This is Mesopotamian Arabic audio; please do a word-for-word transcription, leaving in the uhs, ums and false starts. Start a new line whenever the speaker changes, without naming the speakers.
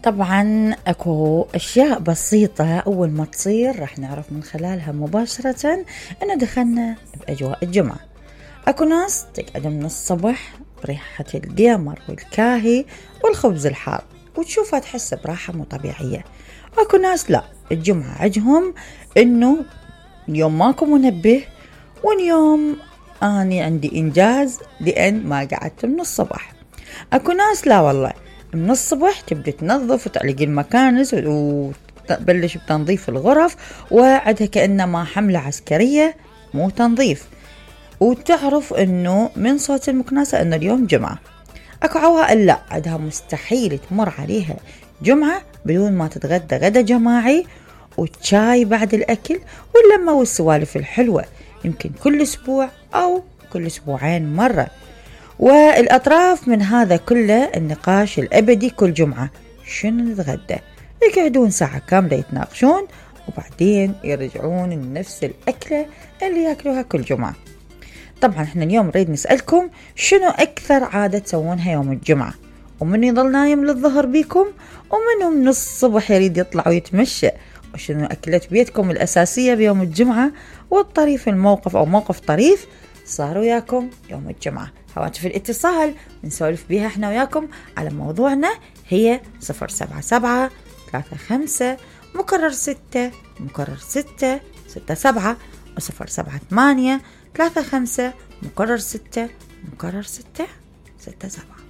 طبعا اكو اشياء بسيطة اول ما تصير راح نعرف من خلالها مباشرة انه دخلنا باجواء الجمعة. اكو ناس تقعد من الصبح بريحة القمر والكاهي والخبز الحار وتشوفها تحس براحة مو طبيعية. اكو ناس لا، الجمعة عجهم انه اليوم ماكو منبه واليوم اني عندي انجاز لان ما قعدت من الصبح. اكو ناس لا والله من الصبح تبدأ تنظف وتعلق المكانس وتبلش بتنظيف الغرف وعدها كأنما حملة عسكرية مو تنظيف، وتعرف انه من صوت المكنسة انه اليوم جمعة. اكو عوائل لا، عدها مستحيل تمر عليها جمعة بدون ما تتغدى غدا جماعي وتشاي بعد الاكل واللمة والسوالف الحلوة، يمكن كل اسبوع او كل اسبوعين مرة. والأطراف من هذا كله النقاش الأبدي كل جمعة شنو نتغدى، يقعدون ساعة كاملة يتناقشون وبعدين يرجعون لنفس الأكلة اللي يأكلوها كل جمعة. طبعا احنا اليوم نريد نسألكم شنو أكثر عادة تسوونها يوم الجمعة، ومن يضل نايم للظهر بيكم ومنه من الصبح يريد يطلع ويتمشى، وشنو أكلة بيتكم الأساسية بيوم الجمعة، والطريف الموقف أو موقف طريف صار وياكم يوم الجمعة. هواتف الاتصال نسولف بيها احنا وياكم على موضوعنا هي صفر سبعة سبعة ثلاثة خمسة مكرر ستة مكرر ستة ستة سبعة وصفر سبعة ثمانية ثلاثة خمسة مكرر ستة مكرر ستة ستة سبعة.